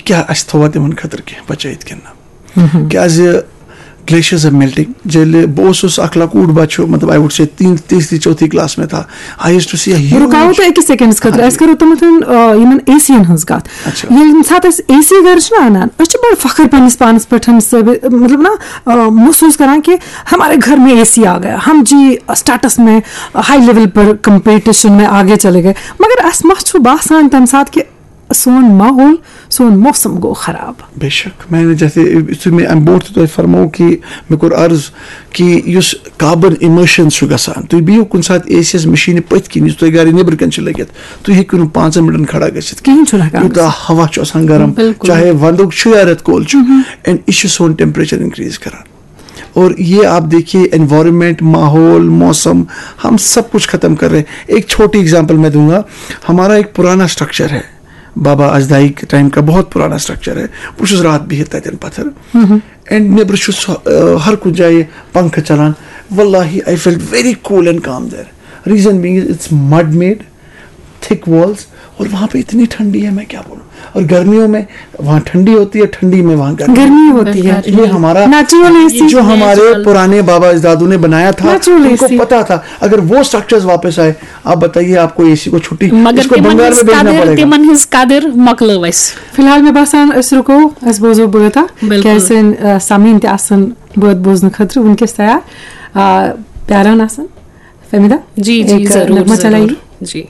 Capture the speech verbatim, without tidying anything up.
کیٛاہ اَسہِ تھوٚوا تِمن خٲطرٕ کینٛہہ بچٲیِتھ کِنہٕ نہ؟ کیٛازِ glaciers are melting. ییٚلہِ بہٕ اوسُس اکھ لۄکُٹ بچہٕ، مطلب، I would say تین، تیسری، چوتھی class میں تھا, I used to see a huge. رُکاوو تۄہہِ أکِس سیکنڈس خٲطرٕ. ہاں جی. أسۍ کرو تِمن تھن، آ، یِمن اے سی ین ہٕنٛز کتھ. اچھا. ییٚلہِ ییٚمہِ ساتہٕ أسۍ اے سی گرٕ چھِنہ انان، أسۍ چھِ بڑٕ فخر پننِس پانس پٮ۪ٹھ ثٲبت، مطلب نا، آ، محسوس کران کہ ہمارے گھر میں اے سی آ گیا، ہم جی اسٹیٹس میں ہائی لیول پر کمپٹیشن میں آگے چلے گئے. مگر اسہِ ما چھُ باسان تمہِ ساتہٕ کہ سون ماحول، سون موسم گوٚو خراب؟ بے شک، میں نے جیسے یُتھُے مےٚ اَمہِ برونٛٹھ تہِ تۄہہِ فرموو کہِ مےٚ کوٚر عرض کہِ یُس carbon emissions چھُ گژھان، تُہۍ بِہِو کُنہِ ساتہٕ اے سی یَس مِشیٖنہِ پٔتۍ کِنۍ، یُس تۄہہِ گرِ نیٚبرٕ کَنۍ چھِ لٔگِتھ، تُہۍ ہیٚکِو نہٕ پانٛژَن مِنٹَن کھڑا گٔژھِتھ کِہیٖنۍ. کِہیٖنۍ چھُنہٕ ہٮ۪کان یوٗتاہ ہوا چھُ آسان گرم، بِلکُل. چاہے وَندُک چھُ یا رٮ۪تہٕ کول چھُ، and یہِ چھُ سون temperature increase کران. اور یہ آپ دیکھیے، environment، ماحول، موسم، ہم سب کچھ ختم کر رہے ہیں. ایک چھوٹی example میں دوں گا. ہمارا ایک پرانا structure ہے، بابا اجدائی کے ٹائم کا بہت پرانا structure ہے. بہٕ چھُس راتھ بِہِتھ تَتٮ۪ن پَتھر، and نیٚبرٕ چھُ سُہ، آ، ہر کُنہِ جایہِ پنکھہٕ چلان. واللہ، I felt very cool and calm there. Reason being is it's mud made, thick walls, اور وہاں پہ اتنی ٹھنڈی ہے، میں کیا بولوں. اور گرمیوں میں وہاں ٹھنڈی ہوتی ہے، ٹھنڈی میں وہاں گرمی. گرمی ہوتی ہے. یہ ہمارا Natural اے سی. جو ہمارے Natural. پرانے بابا اجدادوں نے بنایا تھا، Natural ان کو اے سی. پتا تھا اگر وہ structures واپس آئے، آپ بتائیے، آپ کو اے سی کو چھٹی، مگر اس کو تِمن بنگال ہٕنٛز میں بھیجنا قدر پڑے گا. تِمن ہٕنٛز قدر مۄکلٲو اَسہِ. فی الحال مےٚ باسان أسۍ رُکو، أسۍ بوزو بٲتھ اکھ. بِلکُل. کیٛازِ سٲنۍ، آ، سامعیٖن تہِ آسن بٲتھ بوزنہٕ خٲطرٕ وٕنکیٚس تیار، آ، پیاران آسن. فہمیدہ؟ جی، جی، ایک ضروٗر، نغمہ چلائیے. ضروٗر. جی.